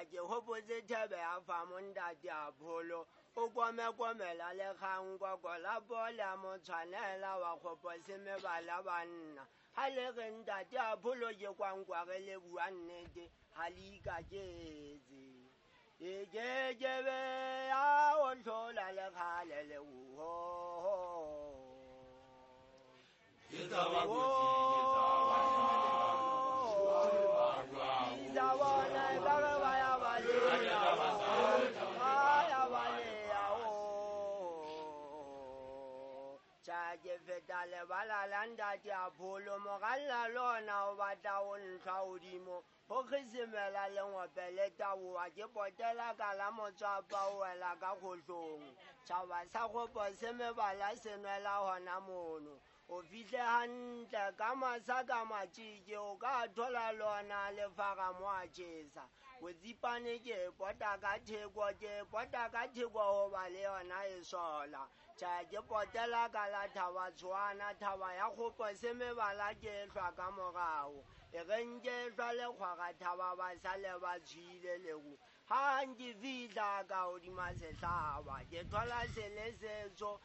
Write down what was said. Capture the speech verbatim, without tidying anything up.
Tjhe, ke hopotse thebe ya fa montate a pholo o komekomela lekgang koko la pole mo tshwanela wa kgopo se mebala banna ha le re ntate a pholo ke kwankwa re le bua nnete ha le ikaketse e ke ke be ya o hlola lekgale le uho. Ke tshaba kotsi, ke tshaba Isa bona ekare ba ya baleha, ba ya baleha, oh. Tjha, ke feta lebala la ntate a pholo moralla lona o batla ho ntlha hodimo ho kgisimela lengope le taboha ke potela ka la motswapa o wela ka kgohlong tjhaba sa kgopo se mebala se nwela hona mono o fihle hantle ka masa ka matjeke o ka thola lona le fara mo a tjhesa botsipane ke pota ka theko ke pota ka theko hoba le yona e sola. Tjhe, ke potela ka la thaba tshwana thaba ya kgopo se mebala ke hlwa ka morao e reng ke hlwa le kgwara thaba ba sale ba tshwile leru ha nke fihla ka hodima sehlaba ke thola se le setsho.